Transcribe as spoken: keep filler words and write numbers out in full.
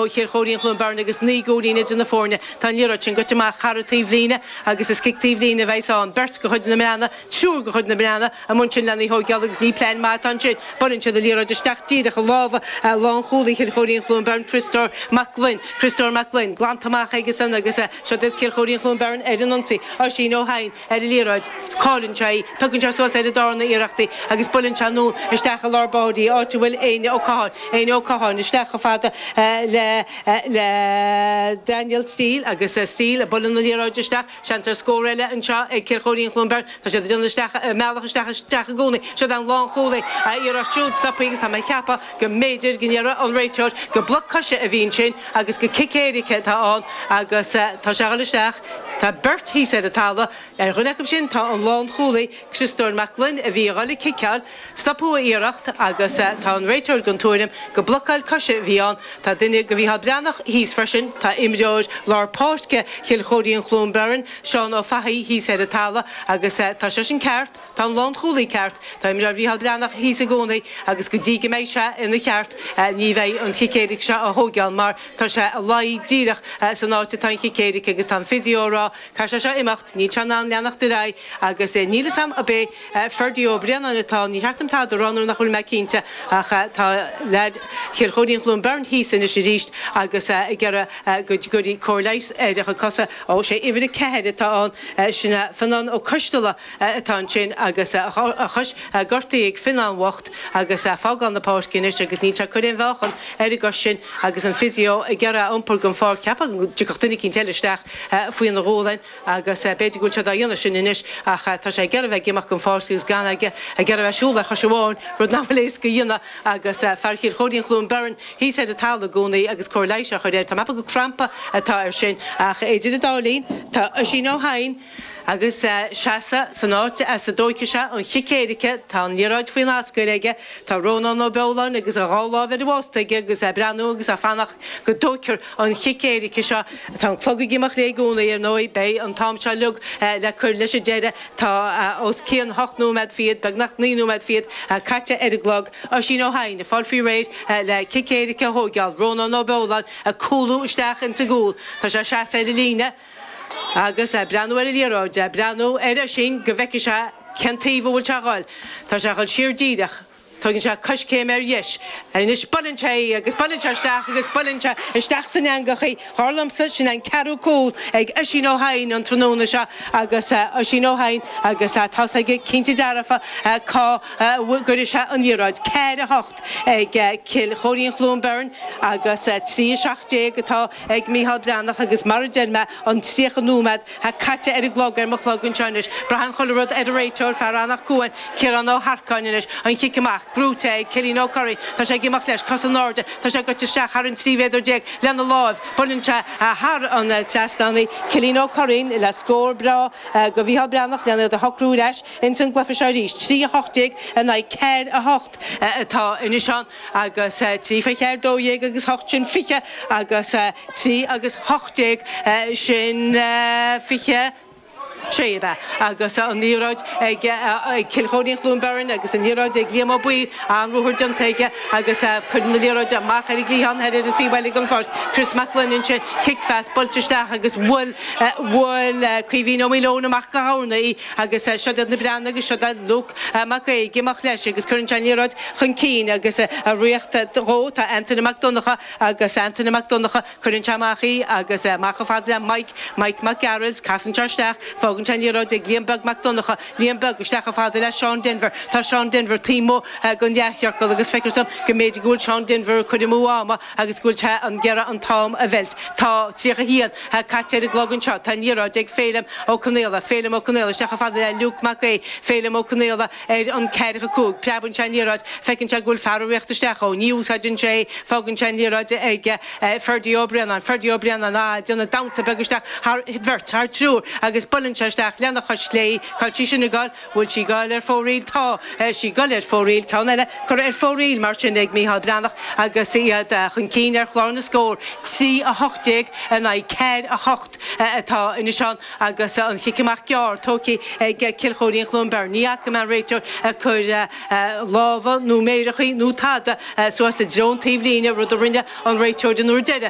ó Chill Chóirín Chluain Bheirn agus naoi gcúilín idir na foirne. Tá an liathróid sin goite amach thar an taobhlíne agus is cic taobhlíne a bheas ann. Beirt de chuid na mBreathnach, triúr de chuid na mBreathnach amuigh ansin lena thógáil agus ní plean maith atá ansin. Buaileann siad an liathróid isteach díreach i lámha lánchúlaí Chill Chóirín Chluain Bheirn, Criostóir Mac Gloinn. Criostóir Mac Gloinn glanta amach aigesan agus seo iad Cill Chóirín Chluain Bheirn ar an ionsaí. Oisín Ó hEidhin ar an liathróid. Cailleann sé í. Piocann sé suas ar an darna iarracht í agus buaileann sé anonn isteach i lár báire í, áit a bhfuil Éinne Ó Catháin. Éinne Ó Catháin isteach chomh fada le le Daniel Steele agus Steele ag bualadh na liathróide isteach. Seans ar scór eile anseo ag Cill Chóirín Chluain Bheirn. Tá siad ag déanamh isteach, mealladh isteach isteach i gcónaí. Seo an lánchúlaí a iarracht siúd stoptha agus tá mé ag ceapadh go mb'fhéidir go ndéarfadh an réiteoir gur bloc coise a bhí ansin agus gur cic éirice atá ann agus tá sé ag dul isteach. Tá beirt thíos ar an talamh. Ar dhuine acu sin tá an lánchúlaí Criostóir Mac Gloinn a bhí ag dul ag ciceáil. Stopadh a iarracht agus tá an réiteoir den tuairim gur blocáil coise a bhí ann. Tá duine de Mhícheál Breathnach thíos freisin. Tá imreoir lár páirce Chill Chóirín Chluain Bheirn, Seán Ó Fathaigh, thíos ar an talamh agus tá seisean ceart. Tá an lánchúlaí ceart. Tá imreoir Mhícheál Breathnach thíos i gcónaí agus go dtí go mbeidh sé ina cheart ní bheidh an chic éirice seo á thógáil mar tá sé ag luí díreach san áit atá an chic éirice agus tá an physio ag rá caithfidh sé seo imeacht, níl sé in ann leanacht ar aghaidh agus níl fhios a'm ab é Ferdie Ó Braonáin atá, ní cheart dom tada a rá nuair nach bhfuil mé cinnte ach tá leaid Chill Chóirín Chluain Bheirn thíos anois arís agus ag iarraidh go gcuirfí cóir leighis ar a chuid cosa. Ó, sé uimhir a ceathair atá ann, sin é Fionnán Ó Coisteala atá ansin agus a chois gortaithe ag Fionnán bhocht agus ag fágáil na páirce anois agus níl sé ag cur aon mheáchan ar an gcois sin agus an physio ag iarraidh é a iompar den pháirc. Cheapfá go dtiocfadh duine eicínt eile isteach faoina ghualainn agus b'fhéidir go bhfuil siad á dhéanamh sin anois ach tá sé ag iarraidh bheith ag imeacht den pháirc agus gan aige ag iarraidh bheith ag siúl ar chois amháin, rud nach bhfuil éasca a dhéanamh agus fear Chill Chóirín Chluain Bheirn thíos ar an talamh i gcónaí agus cóir leighis á chur air. Tá mé ag ceapadh gur crampa atá air sin ach idir an dá linn tá Oisín Ó hEidhin agus seasamh san áit as a dtóigfidh sé an chic éirice. Tá an liathróid faoin ascaill aige. Tá Rónán Ó Beoláin agus a dhá láimh ar an bhost aige agus é ag breathnú agus ag fanacht go dtóigfear an chic éirice seo. Tá an clog ag imeacht léi i gcónaí, ar ndóigh. Beidh an t-am seo uilig le cur leis an deireadh. Tá os cionn hocht nóiméad fichead, beagnach naoi nóiméad fichead, caite ar an gclog. Oisín Ó hEidhin ag fáil faoi réir le cic éirice a thóigeáil. Rónán Ó Beoláin ag cúlú isteach ins an gcúl. Tá sé ag seasamh ar an líne. Agus ag breathnú ar an liathróid, ag breathnú ar Oisín go bhfeicfidh sé cén taobh a bhfuil sé a dhul. Tá sé a dhul siar díreach. Tógann sé coiscéim ar dheis. Anois buaileann sé í agus buaileann sé isteach agus buaileann sé isteach san eangach í. Dar liomsa, sin an ceathrú cúl ag Oisín Ó hEidhin an tráthnóna seo agus Oisín Ó hEidhin agus tá's aige cinnte dearfa cá gcuirfidh sé an liathróid. Ceathair a hocht ag Cill Chóirín Chluain Bheirn agus trí a seacht déag atá ag Mícheál Breathnach agus mar a deir mé, an tríocha nóiméad caite ar an gclog ar mo chlog anseo anois. Braitheann chuile rud ar an réiteoir, fear Eanach Cuain, Ciarán Ó hEarcáin anois. An chic amach, gnóite ag Cillian Ó Curraoin. Tá sé ag imeacht leis, cos in airde. Tá sé goite isteach thar an trí mhéadar déag lena láimh. Buaileann sé thar an trasnán í. Cillian Ó Curraoin le scór breá do Mhícheál Breathnach lena iad a shocrú ar ais ins an gcluiche seo arís. Trí a hocht déag in aghaidh ceathair a hocht atá anois ann agus trí fé cheathair dó dhéag agus hocht sin fiche agus trí agus hocht déag sin fiche sé ab ea agus an liathróid ag Cill Chóirín Chluain Bheirn agus an liathróid ag Liam Ó Baoill, an-ruathar déanta aige agus cuireann na liathróid amach ar an gcliathán thoir ar an taobh eile den pháirc. Chris Mac Gloinn ansin, cic-phas buailte isteach agus bhuail bhuail Caoimhín Ó Maoileoin amach go hArna í agus siod iad na Breathnaigh agus siod é Luke Mac Aoidh ag imeacht leis agus cuireann sé an liathróid chun cinn agus ag ritheacht dhó tá Antaine Mac Donncha agus Antaine Mac Donncha, cuireann sé amach í agus amach chomh fada le Mike, Mike Mac Gearailt, casann sé isteach, fágann sé an liathróid ag Liam Beag Mac Donncha, Liam Beag isteach chomh fada le Seán Denvir, tá Seán Denvir taobh amuigh den leathchiorcal agus feictear dom go mb'fhéidir go bhfuil Seán Denvir ag cur amú ama agus go bhfuil sé ag iarraidh an t-am a mheilt. Tá tríocha a haon caite ar an gclog anseo, tá an liathróid ag Féilim Ó Conaola, Féilim Ó Conaola isteach chomh fada le Luke Mac Aoidh, Féilim Ó Conaola ar an ceathracha cúig, preabann sé an liathróid, feiceann sé go bhfuil fear ag ritheacht isteach dhó, ní úsáideann sé é, fágann sé an liathróid ag Ferdie Ó Braonáin, Ferdie Ó Braonáin, ag déanamh damhsa beag isteach thar bheirt, thar triúr agus buaileann sé isteach lena chois chlé í, cá bhfuil sí sin ag goil, bhfuil sí ag goil ar fóraoil, tá sí ag goil ar fóraoil, ceann eile curtha ar fóraoil mar sin ag Mícheál Breathnach agus iad chun cinn ar chlár na scór, trí a hocht déag in aghaidh ceathair a hocht atá anois ann. Agus an chic amach gearr tógtha ag Cill Chóirín Chluain Bheirn, ní fhaca mé an réiteoir ag cur lámha nó méireachaí nó tada suas i dtreo an taobhlíne, rud a rinne an réiteoir an uair deiridh.